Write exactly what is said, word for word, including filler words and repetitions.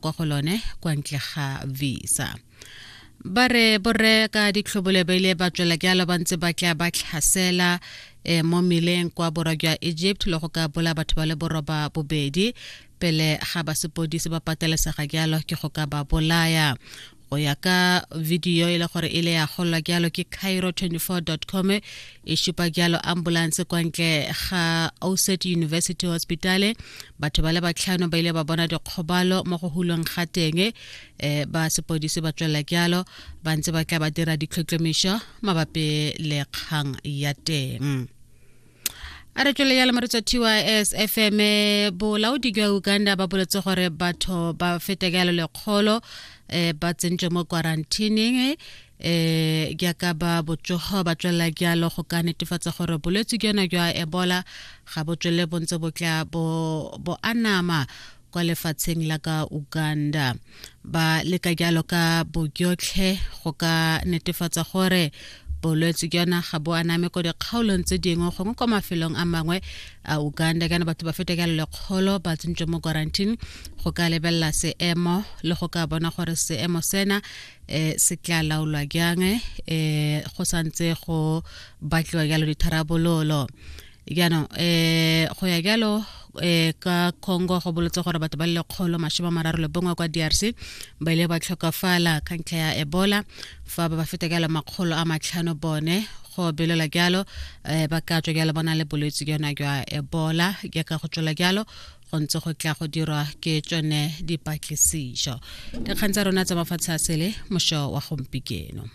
Kwa go lone kwa ntle ga visa. Ba re borre ka ditlhobolo ba ile ba tswela jalo ba ntse ba tla ba tlhasela eh, mo meleng kwa borwa jwa Egypt le go ka bola batho ba le boroba bobedi pele ga ba sepodisi ba patelesega jalo ke go ka ba bolaya. Go ya ka video e le gore e le ya golwa jalo ke cairo twenty-four com, e šupa jalo ambulance kwa ntle ga Oset University Hospital. Batho ba le batlhano ba ile ba bona dikgobalo mo go hulweng ga teng. um ba sepodisi ba tswelela jalo ba ntse ba tla ba dira ditlhotlhomišo mabapi le kgang ya teng. A re tswele jalo, moretsa T Y S F M. Bolaodi jwa Uganda ba boletse gore batho ba feta jalo lekgolo um ba tsentswe mo quarantining eh jaaka ba botsogo ba tswelela jalo go ka netefatsa gore bolwetse jona jwa Ebola ga bo tswelele bo ntse bo tla bo bo anama kwa lefatsheng la ka Uganda. Ba leka jalo ka bojotlhe go ka netefatsa gore bolwetse jona ga bo aname ko dikgaolong tse dingwe gongwe kwa mafelong a mangwe a Uganda. Kana batho ba feta ka lekgolo ba tsentswe mo quarantine go ka lebelela seemo le go ka bona gore seemo sena um se tla laolwa jang. um go santse go batliwa jalo ditharabololo. Jaanong um go ya jalo um ka Congo, go boletse gore batho ba le lekgolo masome a mararo le bongwe kwa D R C ba ile ba tlhokafala ka ntlha ya Ebola, fa ba ba feta jalo makgolo a matlhano bone go belela jalo um ba ka tswa jalo ba na le bolwetse jona jwa Ebola, jaaka go tswela jalo go ntse go tla go dirwa ke tsone dipatlisišo. Dikgang tsa rona tsa mafatshe a sele mošo wa gompikeno.